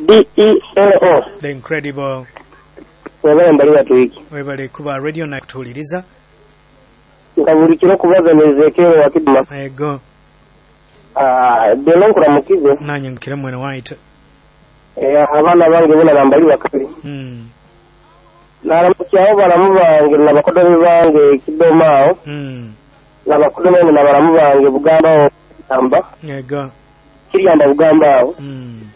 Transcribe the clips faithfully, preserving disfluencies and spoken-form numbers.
D E L O. The Incredible. Webale mbali watu webale kuba radio na kutuuliriza. Nka buli kiro kubaza nezekero wa Kidma. Ego. Ah, delo nkuramukize. Nanye nkire mwene white. Eh, abaana bange bona bambali bakali. Mm. Naramukyaho balamu bange n'abakodomi bange Kidoma aho. Mm. N'abakodomi n'abalamu bange Bugamba aho Amba. Ego. Kiryamba Bugamba aho. Mm.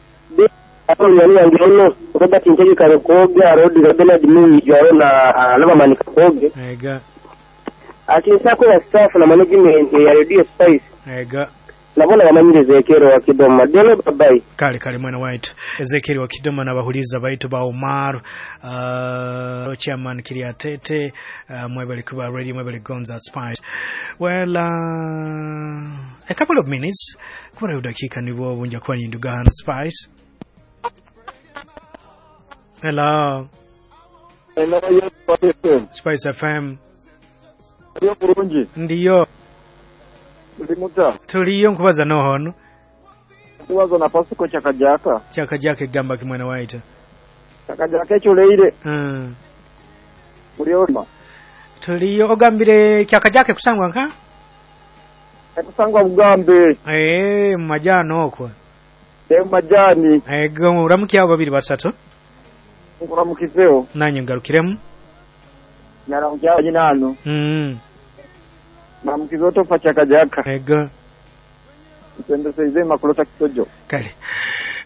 Aho yange ono Robert Ntegeka Rukoga, Rodi Bernard Muwijaro na Nabamanika Koge. Ego. Ati nsako ya staff na management ya Radio Spice. Ego. Nabona bamanyire Ezekiel wa Kidoma. Delo bye. Kale kale mwene white. Ezekiel wa Kidoma n'abahuliza baitu ba Omar uh, chairman Kiriatete uh, mwebale kuba radio mwebale gonza Spice. Well, uh, a couple of minutes kubara dakika nibwo bunja kuba nindugana Spice. Hello. Hello, Spice F M. Spice F M. Ndiyo bulungi. Ndiyo. Tuli muta. Tuliyo nkubaza nohono. Nkubaza na Pasiko Chakajaka. Chakajaka egamba kimwana waita. Chakajaka ekyuleire. Mm. Mulioma. Tuliyo ogambire Chakajaka kusangwa nka? Kusangwa Bugambe. Eh, majano okwo. Eh, majani. Eh, uramukiye abo babiri basatu. Nkuramukizeo. Nanye ngarukiremu. Naramukiye nyinano. Mm. Naramukizo tofa Chakajaka. Ego. Nsendeseize makulota kisojo. Kale.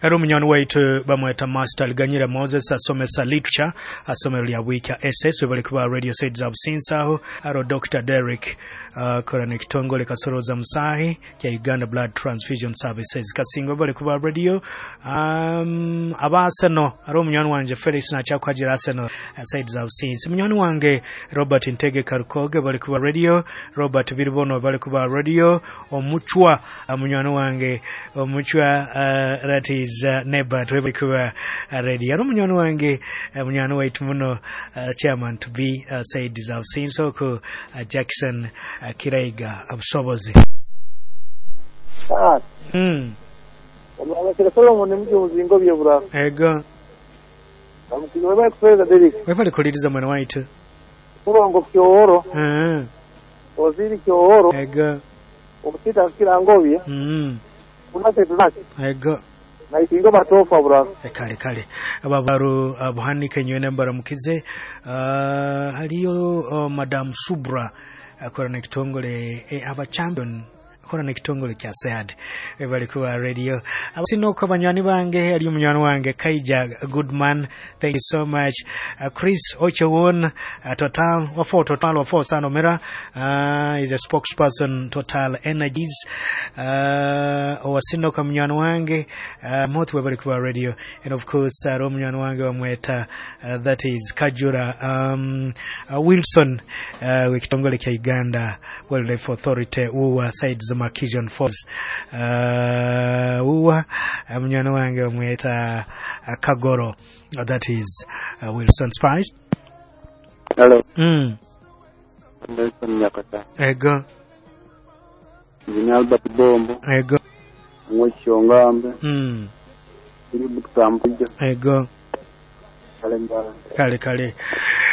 Ari omunyani waitu bamweta Master Liganyira Moses asomesa literature asomero lya Bwikya S S webale kuba radio side za Businsa aro Doctor Derek uh, kora nekitongole kasoroza musahi kya Uganda Blood Transfusion Services kasingo webale kuba radio um, aba Arsenal ari omunyani wanje Felix nachakwajira Arsenal uh, side za Businsa munyani wange Robert Ntege Karukoge webale kuba radio Robert Biribono webale kuba radio Omuchwa uh, munyani wange Omuchwa uh, that is Uh, neighbor twebale kuba uh, radio ari munyani wange uh, munyani waitu muno uh, chairman to be uh, said za Businsa ko uh, Jackson uh, Kiraiga abusobozi. Ah. Mm. Omwana Solomon mji muzingo byebura. Ego. Amukizo baba kufereza Derek. Webale kuliriza mwana waitu. Murongo kyohoro. Eh. Oziri kyohoro. Ego. Omusita kirangobye. Mm. Unase tunake. Ego. Naitingo batofa bura. Kale kale ababaru abuhanike nywene mbaramukize uh, haliyo uh, Madam Subra akora uh, nekitongole eh, aba champion akora nekitongole kya SEAD bali kuba radio abasinoko banywani bange ali munywani wange Kaija Goodman, thank you so much uh, Chris Ochewon uh, Total wafo Total wafo sano mera uh, is a spokesperson Total Energies uh, wasinoko munywani wange uh, motu bali kuba radio and of course uh, munywani wange wamweta uh, that is Kajura um, uh, Wilson uh, wekitongole kya Uganda Wildlife Authority uwa sides Makijon Falls uh, uwa munywani wange wamweta uh, Kagoro uh, that is uh, Wilson Spice. Hello. Mm. Nelson Nyakata. Ego. Engineer Albert Bombo. Ego. Mwechongambe. Mm. Iri Ego. Kale kale.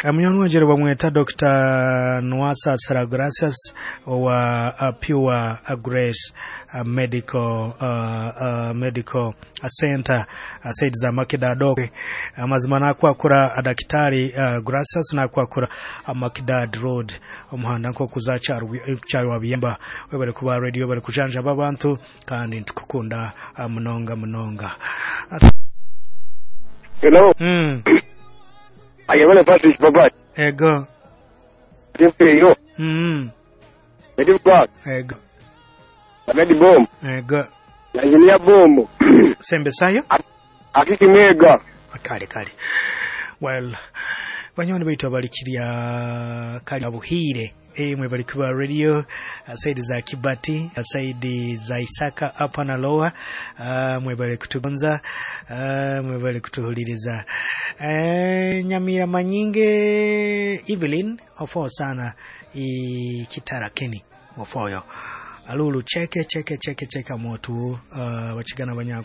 Munywani wanje bamweta Doctor Nwasa Saragracias wa uh, Pure Grace uh, Medical uh, uh, Medical Center uh, said za Makidad amazima nakwakura adakitari uh, Gracias nakwakura uh, Makidad Road omuhanda nko kuzacha cyarwa biyemba webale kuba radio bale kujanja babantu kandi ntukukunda uh, munonga munonga. Hello. Mm. Ayabale Patrick Baba. Ego. Yo. Mm. Edi Baba. Ego. Edi Bomb. Ego. Engineer Bombo. Sembe sayo? Akiki mega. Kale kale. Well, banyoni baitu abalikirya kali abuhire. Eh, mwebali kuba radio saidi za Kibati, saidi za Isaka hapa na Lower, uh, mwebali kutugonza, uh, mwebali kutuhuliriza. Eh, Nyamira Manyinge Evelyn ofo sana i kitara keni ofoyo. Alulu cheke cheke cheke cheke motu uh, wachigana banyako.